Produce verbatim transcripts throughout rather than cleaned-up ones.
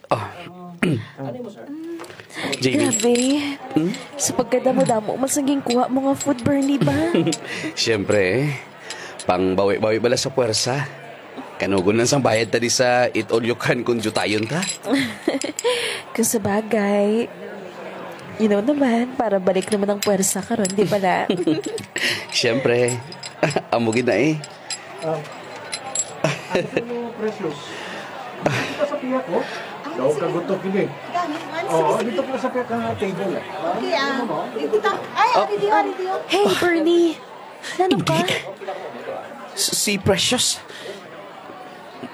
Ah. Jamie. Grabe. Hmm? Sa pagkadamo-damo man sang ginkuha mo nga food, Bernie, ba? Siyempre, eh. Pangbawi-bawi bala sa puwersa. Kanugon lang sang bayad ta di sa eat all you can kung diyutayon ta. Kung sa bagay, you know naman, para balik naman ang puwersa karon, di ba na? Siyempre. Amo gid na eh. Ah, ano mo, Precious? Dito ka sa piyak, oh. Daw kagutok ini. Oo, dito ka sa piyak ng table, eh. Okay, ah. Dito ta. Ay, Oh. Ari Dio, Ari Dio. Hey, Bernie. Nano ka? Hindi. S-, si Precious.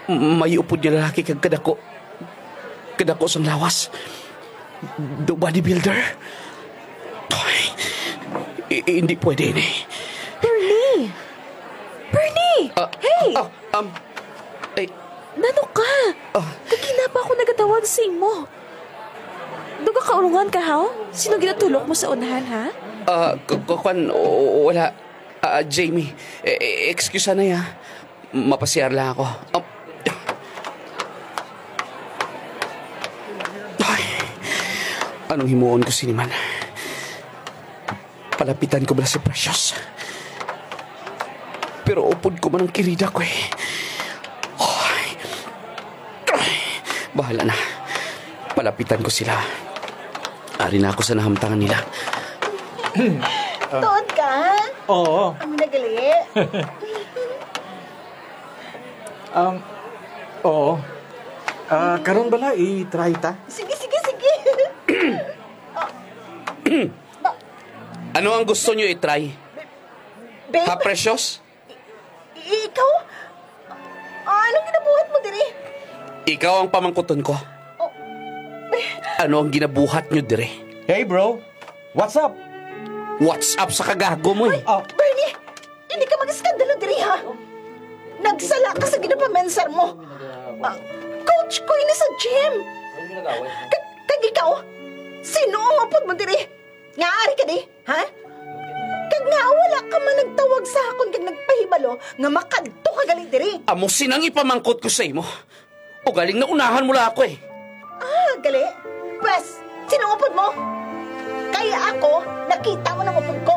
M-, may upod nga lalaki kag kadako. Kadako sang lawas. Do bodybuilder. Ay, i-, hindi pwede ini. Bernie! Bernie! Ah, Hey! ah, um, eh, Nano ka? Ah. Kagina pa ako nagatawag sa imo. Duga kaulungan ka, haw? Sino ginatulok mo sa unahan, ha? Ah, k-, k-, kwan, o-, o-, wala. Ah, Jamie, eh, eh, excuse na ya. Mapasiyar lang ako. Ah. Ay, anong himuon ko sini man? Palapitan ko bala si Precious? Pero upod ko man ang kirida ko eh. Ay. Ay. Bahala na. Palapitan ko sila. Ari na ako sa nahamtangan nila. Tuod ka? Oo. Amo na gali. Um, oo. Ah, karon bala i-try ta? Sige, sige, sige. Ba- Ano ang gusto nyo i-try? Babe? Ha, Precious? I-, ikaw? Ah, anong ginabuhat mo diri? Ikaw ang pamangkuton ko. Oh. Ano ang ginabuhat nyo diri? Hey, bro. What's up? What's up sa kagago mo eh? Ah. Bernie, hindi ka mag-eskandalo diri, ha? Nagsala ka sa ginapamensar mo. Ah, coach ko ini sa gym. Kag, kag ikaw, sino ang upod mo diri? Nga ari ka di, ha? Kag nga wala ka man nagtawag sa akon kag nagpahibalo nga makadto ka gali diri. Amo sinang ipamangkot ko sa imo. Ugaling naunahan mo lang ako eh. Ah, gali? Pwes, sino ang upod mo? Kay ako, nakita mo ng upod ko.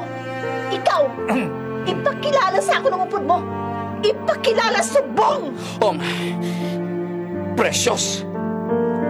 Ikaw, ipakilala sa akon ang upod mo. Ipakilala subong! Um, Precious,